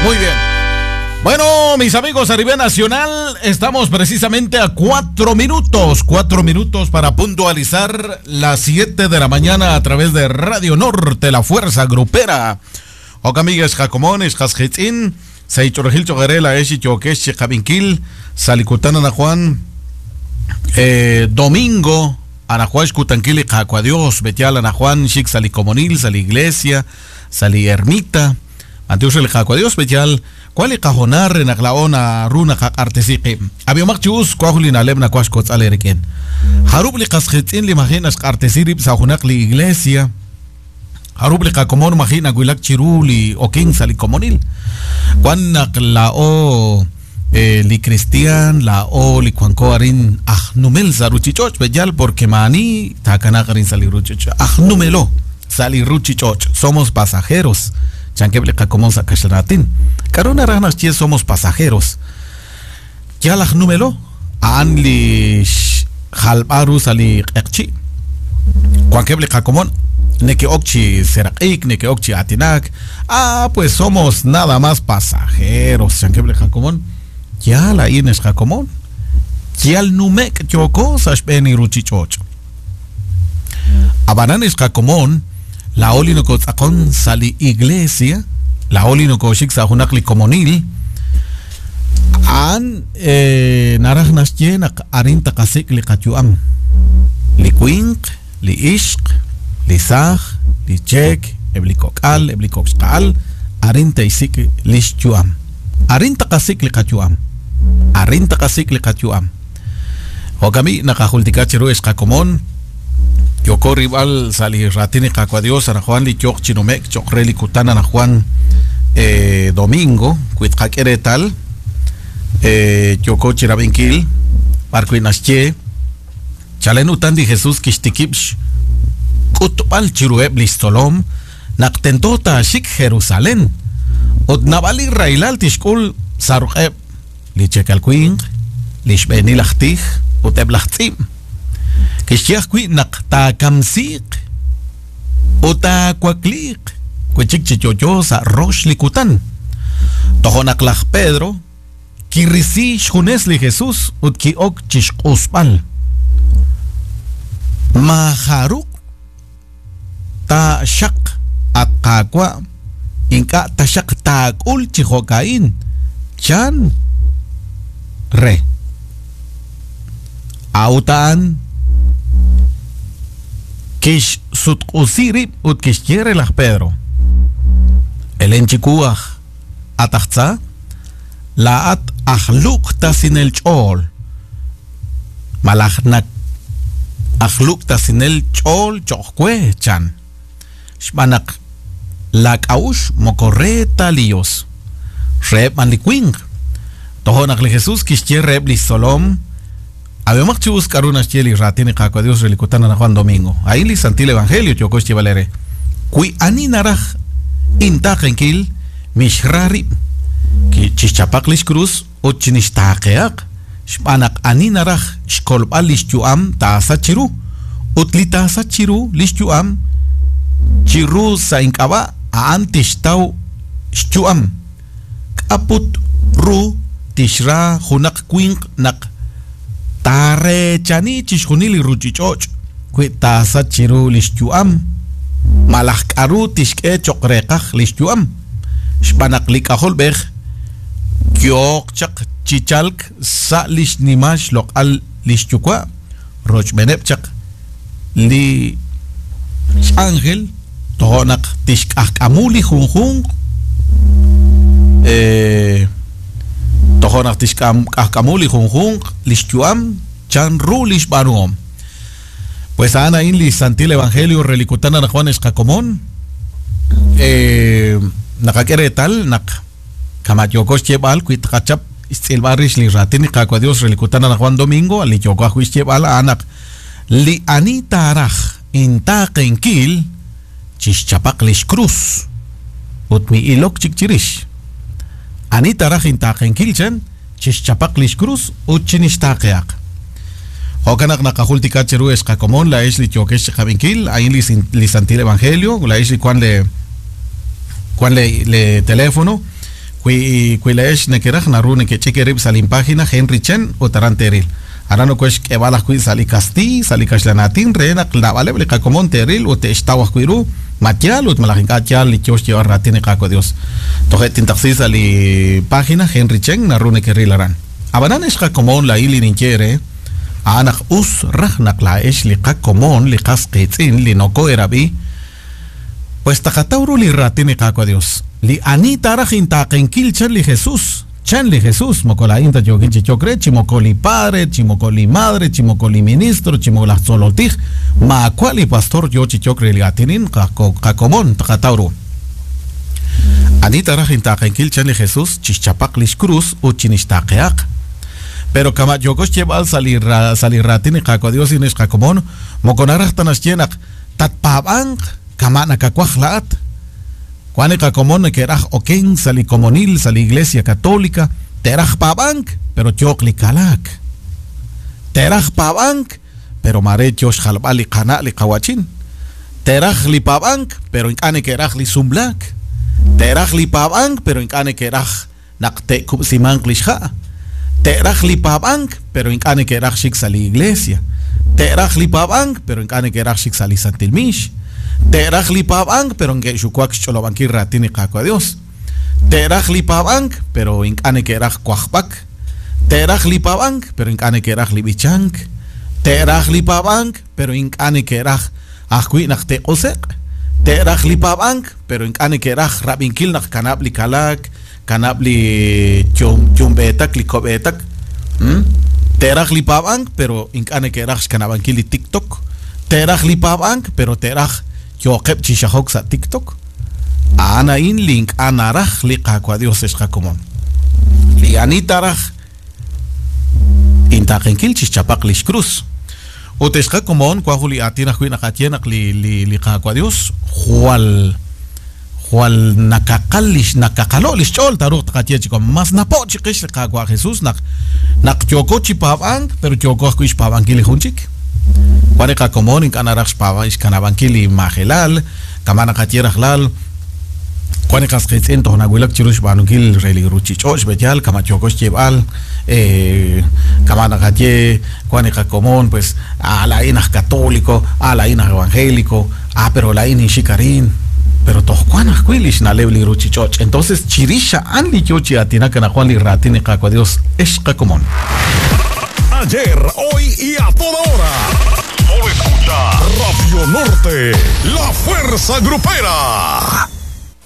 Muy bien. Bueno, mis amigos a nivel nacional, estamos precisamente a 4 minutos, 4 minutos para puntualizar las 7 de la mañana a través de Radio Norte, la Fuerza Grupera. Okamigues Jacomones, Jasjitzin, Seichorgil Chogarela, Eshi Chokesh, Chicabinkil, Salicutana Ana Juan, domingo, Ana Juan Xcutanquil y Jacuadios, Betial Ana Juan, Chic Salicomonil, Sali Iglesia, Sali Ermita, Antius el Jacuadios, Betial, ¿Cuál es cajonar en la runa artesiqi? Abiomaq chus cuajulin alebna cuashkots aleriken. Harub li qasjitzin li maginas artesirib sajunaq li iglesia. Harub li qakomon magina guilak chiruli okin sali komonil. Cuanak la o li cristian la o li cuanco arin ajnumel saruchichoch beyal porque mani takanaqarin saliruchichoch. Ajnumelo saliruchichoch. Somos pasajeros. Chanqueble qakomon sakashratin. Karuna rajnas chie somos pasajeros. Yalaj número an li jalbaru sali qeqchi. Cuanqueble qakomon neke okchi seraqik neke okchi atinak. Ah, pues somos nada más pasajeros. Chanqueble qakomon. Ya la ines qakomon. Yal numek yoko sashbeni ruchichoch. Abananes qakomon. La oli no kotzakon sali iglesia, la oli no koshik sa junakli komonil, an naraj nasye nak arin takasik li katyuam, li kuink, li ishq, li saj, li chek, ebli kokal, ebli kokskal, arin taisik li xyuam, arin takasik li katyuam, arin takasik li katyuam. Hokami nakajultikachiru eskakomon. Yoko rival sali ratini kakuadios Ana Juan li chok chinomek chok reli kutana Ana Juan domingo kuitkakeretal yoko chirabinkil parkuinasche chalen utandi Jesús kishtikipsh kutpal chirueb listolom naktentota shik Jerusalén ot nabali railal tishkul sarqeb li chekalkuin lishbenil ahtij uteb lachtzim Kixyajwi naq taakamsiq utakuakliq kuchik chichocho sa rosh likutan tojonaq laj Pedro kirisi xjunes li Jesús ut ki'ok chixq'usb'al majaruq ta xaq at qaawa ink'a taxaq taak'ul chijo'ka'in chan re autaan Kish sutq'usirib ut kixyere laj Pedro. Elenchikuaj atajtza laat ajluq tasinel ch'ol. Malajnak ajluq tasinel ch'ol cho'jkwe chan. Xb'anaq lak'awux mokorreta liyos. Reb man likwing. Tojonaq li Jesús kixye reb li solom. Habemos chus karunas cheli ratini kakua Dios relicutana na Juan Domingo. Ahí li santil evangelio chokosh valere. Kui ani naraj intakenkil mishrari ki chichapaklish cruz o chinishtakeak. Xbanak ani naraj xkolbal lishchuam tasachiru. Utli tasachiru lishchuam chiru sa inkaba aantishtau xchuam. Kaput ru tishra junak kuink nak Tare chani chishjunili ruchichoch kwi tasa chiru lishchuam malaj k'aru tixk'e choqreqaj lishchuam xb'anaq lik'ajolb'ej kyoq chaq chichalk sa lixnimax loq'al lixyuwa rochb'eneb chaq li x'ángel tojonaq tixk'ajk'amu li junjunq tojonaq tixk'ajk'amu li junjunq lixyuam chan ru lixb'anuhom. Pues ana in li santil evangelio relicutana na Juan escakomon naqak'eretal naq kamayokox yeb'al kuitqachap istz'ilb'arix li ratini qakua Dios relicutana na Juan Domingo li yokaj yeb'al anaq li ani taraj intaqenkil chixchapaq lix cruz ut mi ilok chikchirix ani taraj intaqenkil chan chixchapaq lix cruz ut chinixtaqeaq. Jokanak nakajultika cheru escakomon la es li chokesh chabinkil ahí li santil evangelio la es li cuan le teléfono Wi wi laa'ex nekeraj naru nekech'ik eerib' sa' linpágina Henry Chen ut aran teeril. Aran nokoxk'eeb'al ajwi' sa' li kastiiy, sa' li kaxlan aatin re naq naab'aleb' li qakomon teeril ut te'xtaw ajwi' ru ma yaal ut malaj ink'a' yaal li yo xyeeb'al raatin li Qaawa' Dios. Toje' tintaqsi sa' li página Henry Chen naru nekeril aran. Ab'anan ex qakomon laa'in li ninye eere a'an naq us raj naq laa'ex li qakomon li qas qiitz'in li noko'erab'i Pues taqataw ru li raatin li Qaawa' Dios. Li ani taaraj intaaqenkil chan li Jesus, chan li Jesus, moko laa'in ta yookin chi yok re, chi moko li padre, chi moko li madre, chi moko li ministro, chi moko laj tzolol tij, maawa' li pastor yoo chi yok re li aatinin qakomon, taqataw ru. Ani taaraj intaaqenkil chan li Jesus, chixchapaq lix krus ut chinixtaaqehaq. Pero kama' yooko xyeeb'al sa' li sa' li raatin li Qaawa' Dios inix qakomon, moko naraj ta naxye naq Tatpaab'anq kama' nakawaj laa'at. Wank li qakomon neke'raj okenk sa' li komonil sa' li Iglesia Catolica, te'raj paab'ank, pero yooq li kalaak. Te'raj paab'ank, pero maare yoo xjalb'al li qana' li qawa'chin. Te'raj li paab'ank, pero ink'a' neke'raj li sumlaak. Te'raj li paab'ank, pero ink'a' neke'raj naq te'kub'simanq lix ha'. Te'raj li paab'ank, pero ink'a' neke'raj xik sa' li iglesia. Te'raj li paab'ank, pero ink'a' neke'raj xik sa' li santil miix. Te'raj li paab'ank, pero neke'xuwak xch'olob'ankil raatin li Qaawa' Dios. Te'raj li paab'ank, pero ink'a' neke'raj wajb'ak. Te'raj li paab'ank, pero ink'a' neke'raj li b'ichank. Te'raj li paab'ank, pero ink'a' neke'raj ajwi' naq te'q'use'q. Te'raj li paab'ank, pero ink'a' neke'raj rab'inkil naq kanab' li kalaak, kanab' li yumb'eetak, li ko'b'eetak. Te'raj li paab'ank, pero ink'a' neke'raj xkanab'ankil li TikTok. Te'raj li paab'ank, pero te'raj yooqeb' chi xajok sa' TikTok. A'an a'in li ink'a' naraj li Qaawa' Dios ex qakomon. Li ani taaraj intaaqenkil chixchapaq lix krus. Ut ex qakomon, wan jun li aatin ajwi' naqaye naq li, li, li Qaawa' Dios jwal jwal nakaqal lix nakaqalo' lix ch'ool taaruuq taqaye chi mas napo' chiqix li Qaawa' Jesus naq naq yooko chi paab'ank pero yooko ajwi' xpaab'ankil li jun chik. Wan li qakomon ink'a' naraj xpaab'an xkanab'ankil li majelal, kama' naqaye rajlal wan li qas qiitz'in toj nawulak chiru xb'aanunkil re li ruuchich'och' xb'eyal kama' yooko xyeeb'al kama' naqaye wan li qakomon pues ah laa'in aj católico, ah laa'in aj evangélico, ah pero laa'in ninxik arin, pero toj wan ajwi' li xna'leb' li ruuchich'och'. Entonces chirix a'an li yo chi aatinak anaqwan li raatin li Qaawa' Dios ex qakomon. Ayer, hoy y a toda hora. Solo escucha Radio Norte, la fuerza grupera.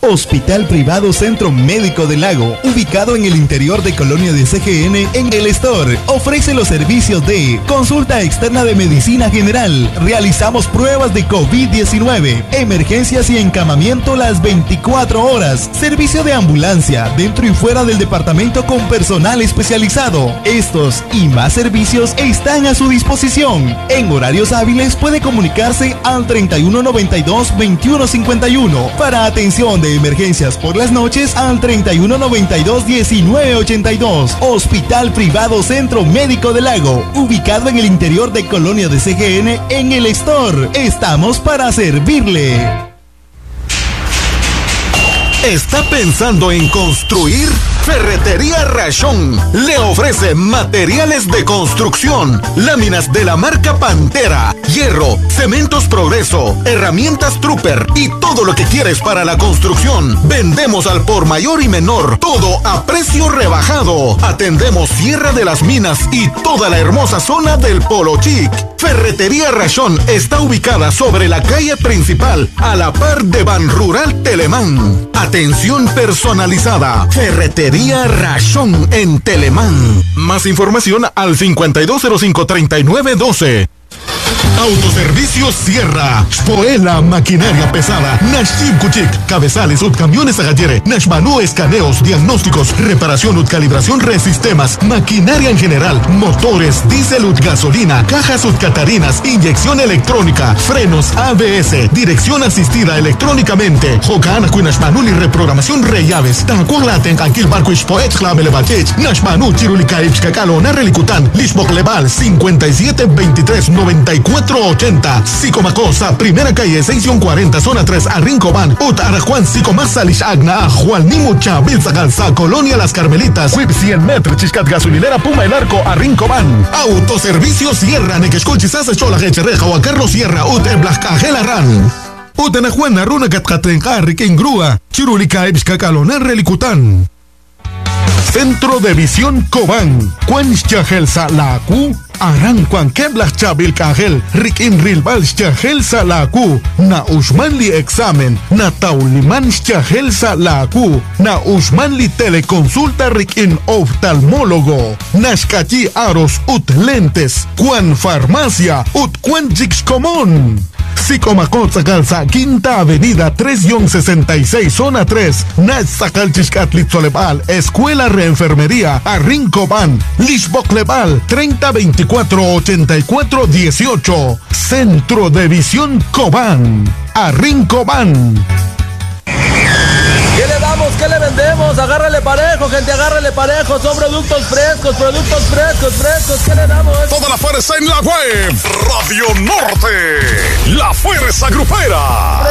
Hospital Privado Centro Médico del Lago, ubicado en el interior de Colonia de CGN en El Store, ofrece los servicios de consulta externa de medicina general, realizamos pruebas de COVID-19, emergencias y encamamiento las 24 horas, servicio de ambulancia dentro y fuera del departamento con personal especializado. Estos y más servicios están a su disposición. En horarios hábiles puede comunicarse al 3192 2151 para atención de emergencias por las noches al 3192 1982. Hospital Privado Centro Médico del Lago, ubicado en el interior de Colonia de CGN en el Store. Estamos para servirle. ¿Está pensando en construir? Ferretería Rachón le ofrece materiales de construcción, láminas de la marca Pantera, hierro, cementos Progreso, herramientas Trooper y todo lo que quieres para la construcción. Vendemos al por mayor y menor, todo a precio rebajado. Atendemos Sierra de las Minas y toda la hermosa zona del Polo Chic. Ferretería Rachón está ubicada sobre la calle principal, a la par de Ban Rural Telemán. Atención personalizada. Ferretería Rachón en Telemán. Más información al 5205-3912. Autoservicio Sierra, Spoela Maquinaria Pesada, Nashib Kuchik, Cabezales, Utcamiones Agallere, Nashmanú Escaneos, Diagnósticos, Reparación, Utcalibración, Resistemas, Maquinaria en general, Motores, Diésel, Utgasolina, Cajas Utcatarinas, Inyección Electrónica, Frenos ABS, Dirección Asistida Electrónicamente, Jokan Nashmanul y Reprogramación Rellaves, Tacualaten, Anquil Barco Poet, Clamelevachech, Nashmanú, Chirulika, Ipskakalo, Narrelicután, Lishbok Leval, 57 23 94 480. Sicomacosa, primera calle 6-40, zona 3, Arrincoban, Ut Arajuan, Sicomasa, Lishagna, Juan Nimucha, Bilzagalza, Colonia Las Carmelitas, Whip 100 metros, Chiscat Gasolinera, Puma El Arco, Arrincoban. Autoservicio Sierra, Nequexcolchisasa, Chola, Echereja, Juan Carlos Sierra, Ut Eblajcajela Ran. Utanajuana, Runa Catcatenja, Riquín Grúa, Chirulika, Ebixcacalonar, Relicután. Centro de Visión Cobán, Juan Salaku, Aran Juan Keblah Chabil Kajel, Rikin Rilbal Chahel Salaku, Na Ushmanli Examen, Na Tauliman Chahel Salaku, Na Ushmanli Teleconsulta Rikin Oftalmólogo, Nashkachi Aros Ut Lentes, Juan Farmacia, Ut Juan Común. Sicomacotzacalza, Quinta Avenida 3-66, Zona 3, Natzacalchiscatlitzolepal, Escuela Reenfermería, Arrincoban, Lishboclebal, 3024 84 18, Centro de Visión Cobán, Arrincoban. ¿Qué le damos? ¿Qué le vendemos? Agárrale parejo, gente, agárrale parejo. Son productos frescos, productos frescos, frescos. ¿Qué le damos? Toda la fuerza en la web. Radio Norte. La fuerza grupera.